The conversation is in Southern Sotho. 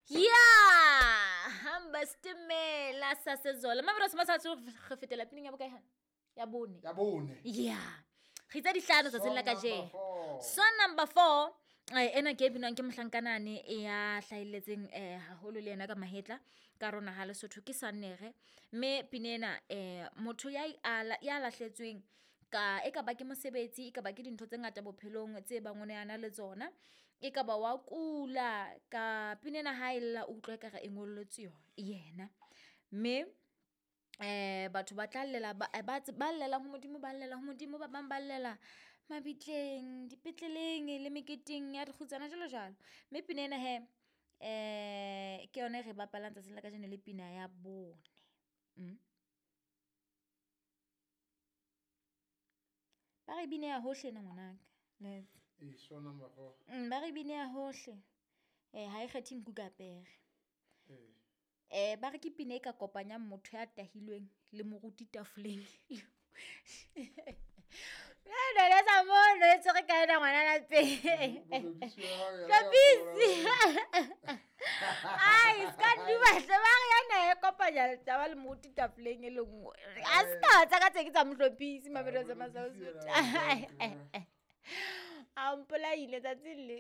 Ya hamba stimela sa sezola mabero se masatso re fetela pineng ya bokae hana ya bone. Ya bone. Ya re itse dihlano tsatsing la Song number kajeno. four. Song number four, ena ke e binwang ke mohlankanane ya hlahelletseng haholo le yena ka mahetla ka rona ha Lesotho ke Sannere. Mme pina ena, motho ya ya lahletsweng ka e ka ba ke mosebetsi, e ka ba ke dintho tse ngata bophelong tse bang o ne a na le tsona. E ka ba wa kula ka pina ena ha e lla, o utlwa ekare e ngolletswe yena. Mme batho ba tla llela ba ba llelang ho Modimo, ba llela ho Modimo, ba bang ba llela mabitleng, dipetleleng le meketeng ya dikgutsana jwalo jwalo. Mme pina ena hee, ke yona e re bapalang tsatsing la kajeno le pina ya bone. Ba re bine ya hohle ena ngwanaka. Ee, song number four. Ba re bine ya hohle. Ha e kgethe nku ka pere. Ee. Ba re ke pina e ka kopanyang motho ya tahilweng le moruti tafoleng. Nonesa mono e tshwere ka ena ngwana lapeng. Hlopisi. Ai, ska nduba hle, ba re yana e kopanya taba le moruti tafoleng e le nngwe. A se ka tsa ka tse ke tsa mohlophisi mabelo tsa Mohlophisi Masausu. yena. A mpolaile tsatsing le.